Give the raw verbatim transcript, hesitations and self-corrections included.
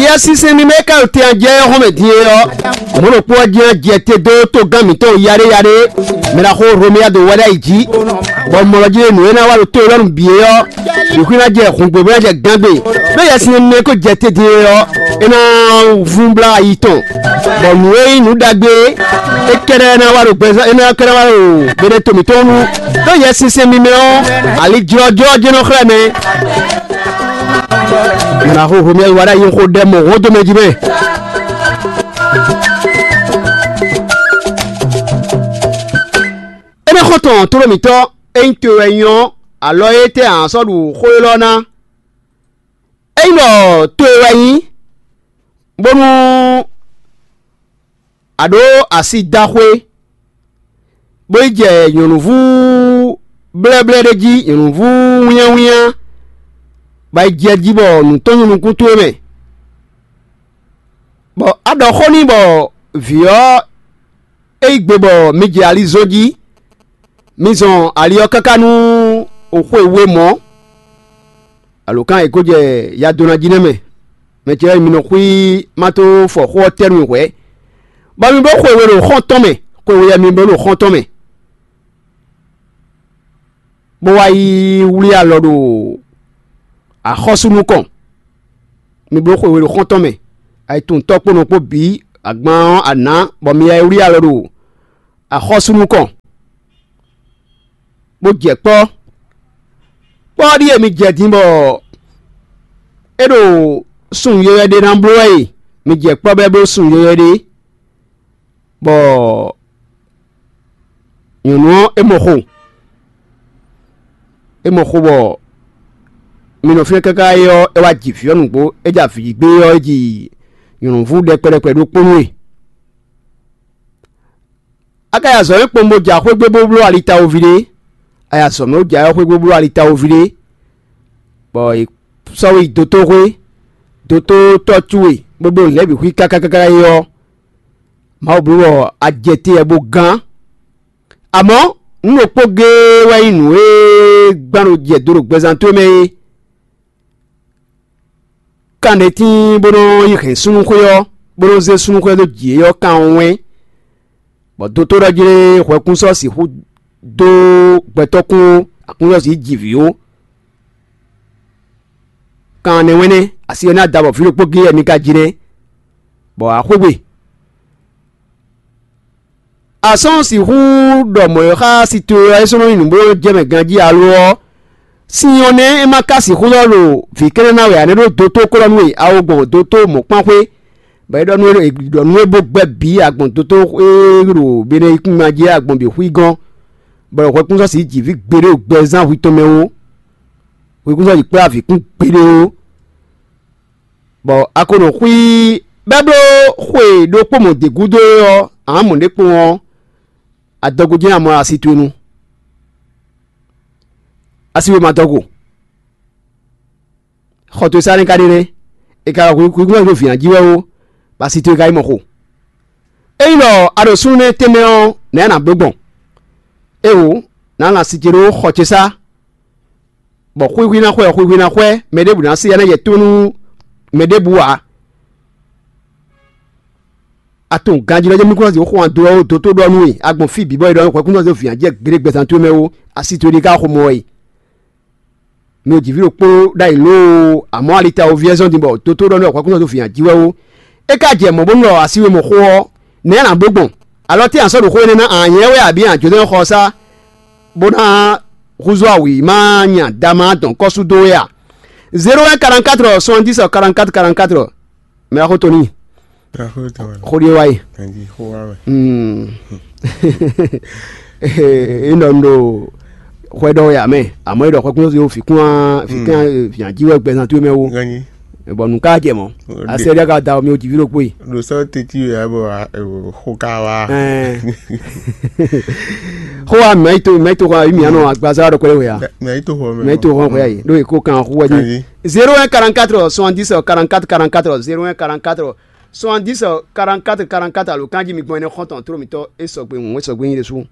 Yɛsinsɛn mímɛ́ ka ɖo te ɔ́ jɛ ɔ́ hɔn mɛ din é ɔ́, mɔ̌ ɖokpó ɔ́ jɛ́n jɛ te dó togán mǐtɔn yaɖéyaɖé, mɛ ná xó Romia ɖo wɛ ɖ'ayǐ jí, bɔ mɔlɔ jí nǔ e ná wa ɖo to élɔ́ nu bǐ é ɔ́, bǐ xwí ná jɛ hǔngbe bó ná jɛ gángbe. Ɖó Yɛsinsɛn mímɛ́ ko jɛ te din é ɔ́, é ná vún blá ayi tɔn, bɔ nǔ e nyí nǔ ɖagbe é kɛ́ɖɛ́ ná wa ɖo gbɛzán é ná kɛ́ɖɛ́ wa ɖo gbeɖé to mǐtɔn nu. Ɖó Yɛsinsɛn mímɛ́ ɔ́, ali jlɔ́jlɔ́ jɛ́n nɔ xlɛ́ mɛ. Mɛ ná xóxó mɛ wá ɖ'ayǐ xó ɖɛ mɔ hɔn dó mɛ jí mɛ. Énɛ́ xɔ́ntɔn tlóló mǐtɔn, ényí to wɛ nyí ɔ́, alɔ étɛ́ a nǎ sɔ́ ɖu xó élɔ́ ná? Ényí ɖɔ to e wɛ nyí, bónú a ɖǒ asi da xwé, bó yi jɛ nyɔ̌nuvú blɛ́blɛ́ ɖé jí, nyɔ̌nuvú wínnyáwínnyá, bɔ yi jɛ jí bɔ nǔ tɔn nyi nukún towe mɛ, bɔ a ɖɔ xó n'i bɔ vǐ ɔ́ é yí gbe bɔ mi jɛ ali zɔn jí, mi zɔn ali ɔ́ káká nú xwe we mɔ̌. Alǒkan e ko jɛ ya dó ná jí nɛ́ mɛ, mɛ ce lɛ́ɛ mi nɔ xwí má tó fɔ xó ɔ́ tɛ́ nú hwɛ̌, bɔ mi bló xwe we ɖo xɔ́n tɔn mɛ, xwe we wɛ mi bló ɖo xɔ́n tɔn mɛ, bó wá yi wlí alɔ ɖo axɔ́sú nukɔn. Mi bló xwe we ɖo xɔ́n tɔn mɛ, ayi tunwun tɔ́ kpó nɔ kpó bǐ agban ɔ́ a nǎ, bɔ mi yi wlí alɔ ɖo axɔ́sú nukɔn, bó jɛ kpɔ́. Kpɔ́ ɔ́ ɖíe mi jɛ din bɔ é ɖo sun yɔywɛ ɖé ná bló wɛ e, mi jɛ kpɔ́ bɔ é bló sun yɔywɛ ɖé, bɔ nyɔ̌nu ɔ́ é mɔ xo, é mɔ xo bɔ mi nɔ fínɛ́ káká é ɔ́, é wá ji vǐ ɔ́ nǔgbó, é ja vǐ gbé ɔ́, é ji nyɔ̌nuvú ɖɛkpɛ ɖɛkpɛ ɖokpó nú we. A ka yi azɔ̌ nyi kpowun bó ja xwé gbe bó bló ali tawuví ɖé, a yi azɔ̌ mɛ bó ja yɔ́ xwé gbe bó bló ali tawuví ɖé, bɔ è sɔ́ we yi dotóxwé, dotótɔ́ towe bó bló nǔ lɛ́ɛ bǐ xwí káká káká é ɔ́, Mawu bló bɔ a jɛ te wɛ bó gán. Amɔ̌, nǔ ɖokpó géé wɛ nyí nǔ e gbán ɖo jɛ do ɖo gbɛzán towe mɛ é. Kanɖétín bó nɔ́ yi hɛn súnnuxwé ɔ́, bó nɔ́ zé súnnuxwé ɔ́ dó jǐ é ɔ́ kan ɔ́ wɛ́n, bɔ dotó ɖɔ jlé hwɛkún sɔ́ sixú dó gbɛtɔ́ kún ó, aklúnɔ́sí jí vǐ ó. Kan ɛnɛ wɛ́n nɛ́, asi ɔ́ ná da bɔ vǐ ɖokpó géé wɛ mi ka ji nɛ́, bɔ a xwé gbe. A sɔ́ sixú ɖɔ mɔ̌ e xá si towe ɔ́ é sɔ́ nɔ nyí nǔ bó jɛ mɛ ganjí alo ɔ́, sin ɔ́ nɛ́ é ma ka sixú lɔ́ ɖo vǐ kɛ́nɛ́ ná wɛ ǎ nɛ́ ɖó dotó kó lɔ nú we, a wo gbɔn dotó mɔ̌kpánxwé, bɔ é ɖɔ nú é ɖɔ nú é bó gbɛ́ bǐ a gbɔn dotó e ɖo Beneyíkúngban jí a gbɔn bǐ xwí gɔ́n, bɔ ɖo hwɛkúnsɔ́sì jí vǐ gbeɖé ɖo gbɛzán hwi tɔn mɛ ó. Hwekúnsɔ́sì kplá vǐ kún gbeɖé ó. Bɔ a ko nɔ xwí bɛ́ bló xwe ɖokpó mɔ̌ d'é gúdo é ɔ́, ǎ mɔ̌ ɖé kpɔ́n ɔ́, adɔgo jɛ́n amɔ asi towe nu. Asi we ma dɔgo. Xɔ towe sá nɛ́ ka ɖe nɛ́, è ka ɖɔ hwekúnɔ ɖo vǐ jí wɛ ó, bɔ asi towe ka yi mɔ xo. Ényí ɖɔ a ɖo súnnu nɛ́ tɛnmɛ ɔ́, nɛ̌ a nǎ bló gbɔn? Éeǒ, nǎ lan asi ce ɖó xɔ ce sá. Bɔ xwíxwí ná xwɛ, xwíxwí ná xwɛ, mɛ ɖěbǔ ná sí ya ná yɛ tó nú mɛ ɖěbǔ ǎ. A tunwun ganjí lɔ jɛ mí kún ná zǐ xo wan dó ɔ́ dó tó ɖɔ nú we, a gbɔn fí bǐ bɔ è ɖɔ hwɛkúnɔ zé vǐ ǎ jɛ gbeɖé gbɛzán towe mɛ ó, asi towe ɖé ka xo mɔ wɛ. Mi ò jǐví ɖokpó ɖ'ayǐ lóo, amɔ̌ ali ta wo vyɛ́zɔ́n din bɔ dó tó ɖɔ nú hwɛkúnɔ zé vǐ ǎ jí wɛ ó. É ka jɛ mɔ̌ bónú ɖɔ asi we mɔ xó ɔ́, nɛ̌ a nǎ bló gbɔn? Alɔ tɛ́ a sɔ́ ɖo xó énɛ́ ná a nyɛ wɛ abǐ a jǒnɛ́ xɔ sá bó ná húzú awǐ ma nya dama dɔn kɔ́sú dó wɛ a? Zéro un quarante-quatre soixante-dix quarante-quatre quarante-quatre. Mɛ axó Tony. Axó tɔn wɛ. Xó ɖíe wá yi. Kanjí xó wá wɛ. Mm. É nɔ un ɖo xwɛ ɖɔ wɛ amɛ, àmọ́ é ɖɔ xwɛ kún yóò fi kún á fi kún á fi jí wɛ gbɛzán towe mɛ wo. Kanjí. Bɔ nǔ ká jɛ mɔ. Asɛ ɖe ka da mi o jìví ɖokpó yi. Ɖo sɔ teti wɛ abɔ xo ka wa. Ɛɛ. Xó wa mɛ yi to mɛ yi to xɔ mi anɔ agbaza ɖɔ kɔlɛ wɛ ya. Mɛ yi to xɔ mɛ. Mɛ yi to xɔ xɔ ya yi. Ɖo yi ko kan xó wɛ di. Kanjí. Zéro un quarante-quatre soixante-dix quarante-quatre quarante-quatre, zéro un quarante-quatre soixante-dix quarante-quatre quarante-quatre, alo kanjí mi gbɔn ɛnɛ xɔntɔn tro mitɔ e sɔgbe ŋun e sɔgbe nyi ɖe su.